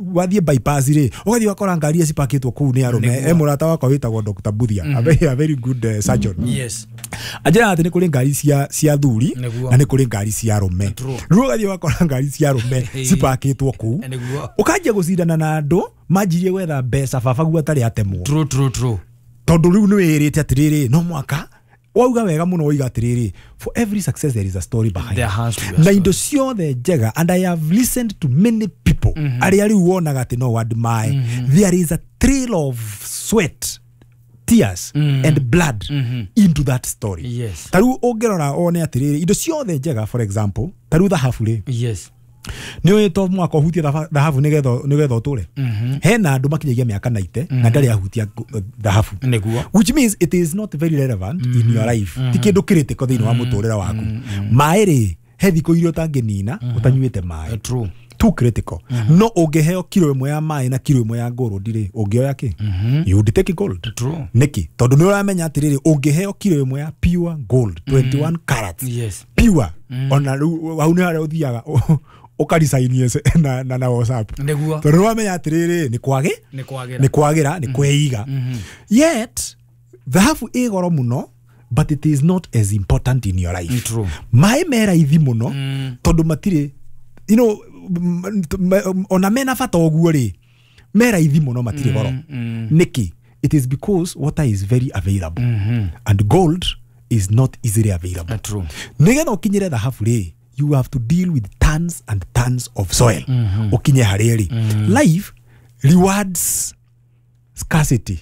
Wathiĩ bypass rĩ, ũgathiĩ ũgakora ngari iria cipakĩtwo kũu nĩ arũme. Nĩguo. E mũrata wakwa wĩtagwo Dr. Buthia, a very good surgeon, anjĩraga atĩ nĩ kũrĩ ngari cia thuri Nĩguo. na nĩ kũrĩ ngari cia arũme. Rĩu ũgathiĩ ũgakora ngari cia arũme cipakĩtwo kũu, ũkanjia gũcindana na andũ manjirie gwetha mbeca baba guo atarĩ atemwo. True true true Tondũ rĩu nĩ wĩrĩte atĩrĩrĩ, no mwaka wauga wega mũno, woiga atĩrĩrĩ, for every success there is a story behind. There has to be a Na story. indo ciothe njega, and I have listened to many people arĩa rĩu wonaga atĩ no admire, there is a trail of sweat, tears and blood into that story. Ta rĩu ũngĩrora wone atĩrĩrĩ, indo ciothe njega, for example, ta rĩu thahabu rĩ, nĩ ũĩ to mwaka ũhutie thahabu nĩgetha ũtũre. Hena andũ makinyagia mĩaka 90 na ndarĩ ahutia thahabu, which means it is not very relevant in your life, ti kĩndũ critical thĩinĩ wa mũtũrĩre waku. Maĩ rĩ, he thikũ iria ũtangĩnina ũtanyuĩte maĩ. Too critical. No ũngĩheo kiro ĩmwe ya maĩ na kiro ĩmwe ya gold rĩ, ũngĩoya kĩ? You would take gold. Nĩkĩ? Tondũ nĩ ũramenya atĩrĩrĩ, ũngĩheo kiro ĩmwe ya pure gold, 21 carats, pure, ona rĩu hau nĩ harĩa ũthiaga ũkarisainie na WhatsApp, tondũ nĩ wamenya atĩrĩrĩ, nĩ kwagĩ Nĩ kwagĩra. Nĩ kwagĩra, nĩ kweiga. Yet thahabu ĩ goro mũno, but it is not as important in your life. Maĩ me raithi mũno, tondũ matirĩ ona mena bata ũguo rĩ, me raithi mũno, matirĩ goro. Nĩkĩ? It is because water is very available and gold is not easily available. Nĩgetha ũkinyĩre thahabu rĩ, you have to deal with tons and tons of soil ũkinye harĩa rĩ. Life rewards scarcity,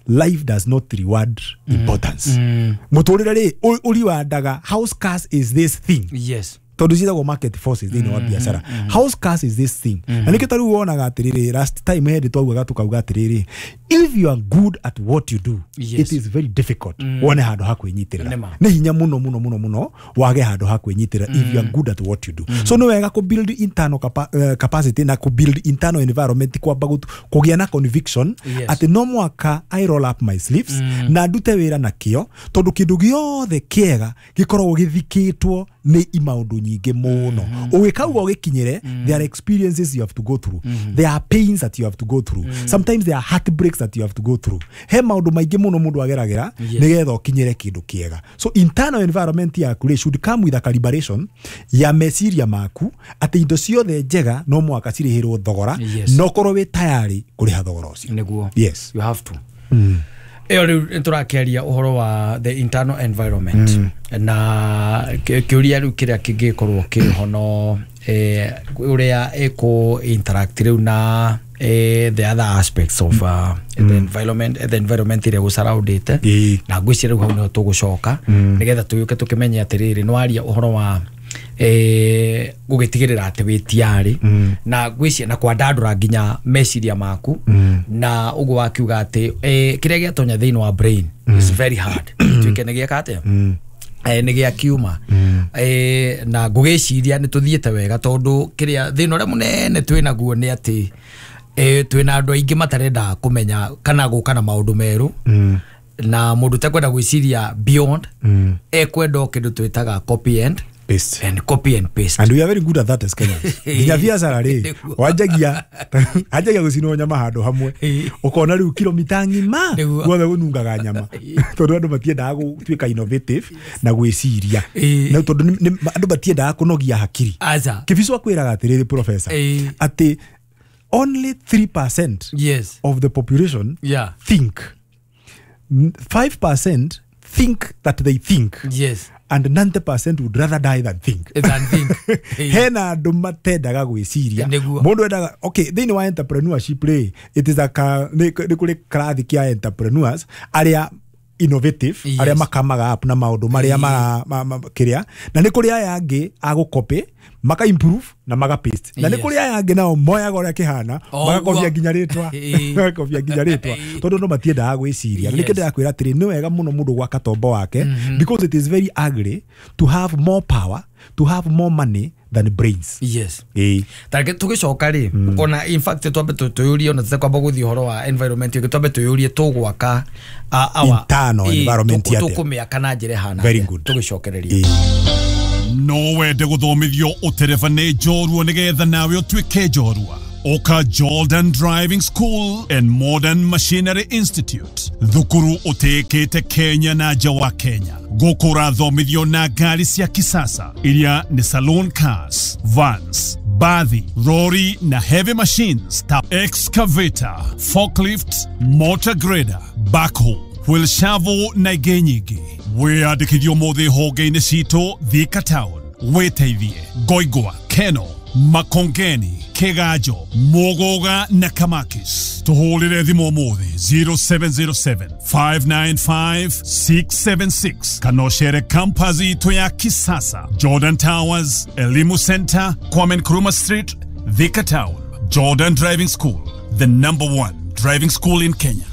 life does not reward importance. Mũtũrĩre rĩ, ũriwandaga how scarce is this thing, tondũ ciĩtagwo market forces thĩinĩ wa biacara. How scarce is this thing? Na nĩkĩo ta rĩu wonaga atĩrĩrĩ, last time hĩndĩ twaugaga, tukauga atĩrĩrĩ, if you are good at what you do, it is very difficult wone handũ ha kwĩnyitĩrĩra. Nĩma. Nĩ hinya mũno mũno mũno mũno wage handũ ha kwĩnyitĩrĩra if you are good at what you do. So nĩ wega kũ build internal capacity na kũ build internal environment, kwamba kũgĩa na conviction atĩ no mwaka I roll up my sleeves na ndute wĩra na kĩo, tondũ kĩndũ gĩothe kĩega gĩkoragwo gĩthikĩtwo nĩ imaũndũ nyingĩ mũno. Ũgĩkauga ũgĩkinyĩre, there are experiences you have to go through, there are pains that you have to go through, sometimes there are heartbreaks that you have to go through. He maũndũ maingĩ mũno mũndũ ageragĩra nĩgetha ũkinyĩre kĩndũ kĩega. So internal environment yaku rĩ should come with a calibration ya meciria maku atĩ indo ciothe njega no mũhaka cirĩhĩrwo thogora, no korwo wĩ tayari kũrĩha thogora ũcio. Yes. You have to. Ĩyo rĩu nĩ tũrakĩaria ũhoro wa the internal environment, na kĩũria rĩu kĩrĩa kĩngĩkorwo kĩho no ũrĩa ĩkũ interact rĩu na the other aspects of the environment ĩrĩa gũcaraundĩte. Na ngwĩciria rĩu hau nĩho tũgũcoka nĩgetha tũgĩũke tũkĩmenye atĩrĩrĩ, nĩ waria ũhoro wa gũgĩtigĩrĩra atĩ wĩ tiarĩ na ngwĩciria na kwandandũra nginya meciria maku, na ũguo wakiuga atĩ kĩrĩa gĩatonya thĩinĩ wa brain is very hard tuĩke nĩ gĩeka atĩa, nĩ gĩa kiuma. Na ngũgĩciria nĩ tũthiĩte wega, tondũ kĩrĩa thĩna ũrĩa mũnene twĩ naguo nĩ atĩ twĩna andũ aingĩ matarenda kũmenya kana gũka na maũndũ merũ, na mũndũ ũtekwenda gwĩciria beyond ekwenda o kĩndũ twĩtaga copy and paste. And copy and paste. And we are very good at that as Kenyans. Nginya biacara rĩ, wanjagia anjagia gũcinwo nyama handũ hamwe, ũkona rĩu kilomita ng'ima guothe gũnungaga nyama, tondũ andũ matiendaga gũtuĩka innovative na gwĩciria. Na tondũ andũ matiendaga kũnogia hakiri. Aca. Kĩbico akwĩraga atĩrĩrĩ, professor, atĩ only 3% of the population think. 5% think that they think and 90% would rather die than think. Than think. Hena andũ matendaga gwĩciria. Mũndũ endaga, okay, thĩinĩ wa entrepreneurship rĩ, it is a ka, nĩ kũrĩ karathi kĩa entrepreneurs arĩa innovative, arĩa makamaga up na maũndũ marĩa mara kĩrĩa, na nĩ kũrĩ aya angĩ a gũcopy, maka improve na maka paste, na nĩ kũrĩ aya angĩ nao moyaga ũrĩa kĩhana, magakobia nginya rĩtwa, magakobia nginya rĩtwa, tondũ no matiendaga gwĩciria. Na nĩkĩo ndĩrakwĩra atĩrĩ, nĩ wega mũno mũndũ gwaka tombo wake, because it is very ugly to have more power, to have more money than brains. Tareke tũgĩcoka rĩ, ona in fact twambe tũyũrie, ona tũtekwamba gũthiĩ ũhoro wa environment ĩngĩ, twambe tũyũrie tũgwaka our Internal environment atĩa? Tũkũmĩaka na njĩra ĩhana Very atĩa? good. Tũgĩcokereria. No wende gũthomithio ũtereba nĩ njorua nĩgetha nawe ũtuĩke njorua. Oka Jordan Driving School and Modern Machinery Institute, thukuru utekete Kenya na nja wa Kenya. Gũkũ ũrathomithio na ngari cia kisasa iria nĩ saloon cars, vans, bathi, rori na heavy machines ta excavator, forklift, motor grader, backhoe, wheel shovel na ingĩ nyingĩ. Wĩyandĩkithio ũmũthĩ honge-inĩ citũ Thika Town, Wĩteithie, Ngoingwa, Keno, Makongeni, Kiganjo, Muguga na Kamakis. Tuhũrĩre thimũ ũmũthĩ 0707 595 676 kana ũcere campus itũ ya kisasa Jordan Towers, Elimu Center, Kwame Nkrumah Street, Thika Town. Jordan Driving School, the number one driving school in Kenya.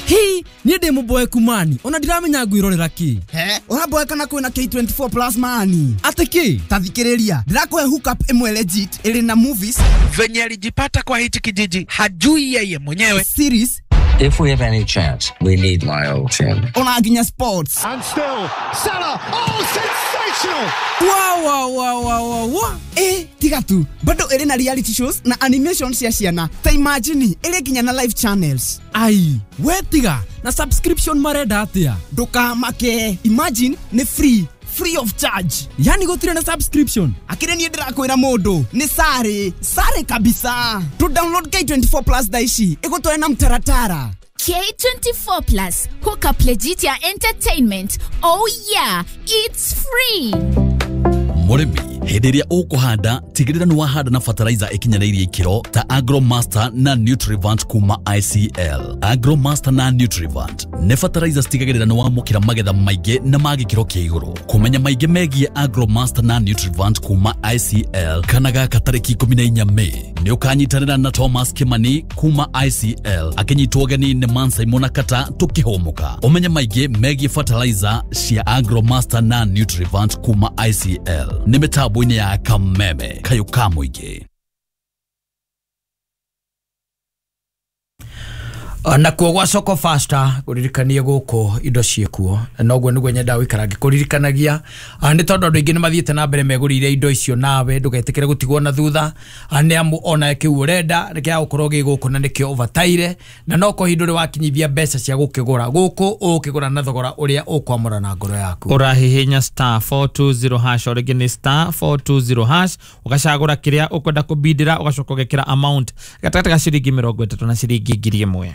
Hi, niĩ ndĩ mũboeku mani ona ndiramenya ngwĩrorera kĩ. He, ũraboeka na kwĩna K24 plus mani. Atĩ kĩ? Ta thikĩrĩria, ndĩrakũhe hookup ĩmwe legit ĩrĩ na movies. Venye alijipata kwa hichi kijiji hajui yeye mwenyewe. Series. If we have any chance, we need my old team. Ona nginya sports. And still, Salah, oh, sensational! Wow, wow, wow, wow, wow, wow. Tiga tu, bado ĩrĩ na reality shows na animation cia ciana. Ta imagine, ĩrĩ nginya na live channels. Ai, we tiga, na subscription marenda atĩa? Ndũkamake, imagine nĩ free. Free of charge. Yani gũtirĩ na subscription. Akĩrĩ niĩ ndĩrakwĩra mũndũ nĩ sare sare kabisa. To download K24 plus thaa ici ĩgũtware na mtaratara. K24 plus hook up legit ya entertainment. Oh yeah, it's free. Mũrĩmi, hĩndĩ ĩrĩa ũkũhanda tigĩrĩra nĩ wahanda na fertilizer ĩkinyanĩirie ikĩro ta Agromaster na Nutrivant kuma ICL. Agromaster na Nutrivant nĩ fertilizer citigagĩrĩra nĩ wamũkĩra magetha maingĩ na ma gĩkĩro kĩa igũrũ. Kũmenya maingĩ megiĩ Agromaster na Nutrivant kuma ICL kana gaka tarĩki 14 Mei nĩ ũkanyitanĩra na Thomas Kimani kuma ICL akĩnyitwo ũgeni nĩ Mansai Monakata tũkĩhũmũka. Ũmenye maingĩ megiĩ fertilizer cia Agromaster na Nutrivant kuma ICL nĩ mĩtambo-inĩ ya Kameme kayũ ka mũingĩ. Nakuo gwa Soko Faster kũririkanie gũkũ indo ciĩkuo noguo nĩguo nyendaga gũikara ngĩkũririkanagia nĩ tondũ andũ aingĩ nĩ mathiĩte na mbere megũrĩire indo icio nawe ndũgetĩkĩre gũtigwo na thutha nĩ amu ona kĩu ũrenda gĩa gũkorwo gĩ gũkũ na nĩkĩo ũbataire na no ko indo wakinyithia mbeca cia gũkĩgũra gũkũ ũkĩgũra na thogora ũrĩa ũkwamũra na ngoro yaku. Ũrahihinya star 420 hash o rĩngĩ nĩ star 420 hash ũgacagũra kĩrĩa ũkwenda kũbindĩra ũgacoka ũgekĩra amount gatagatĩ ga ciringi 30 na ciringi 1000.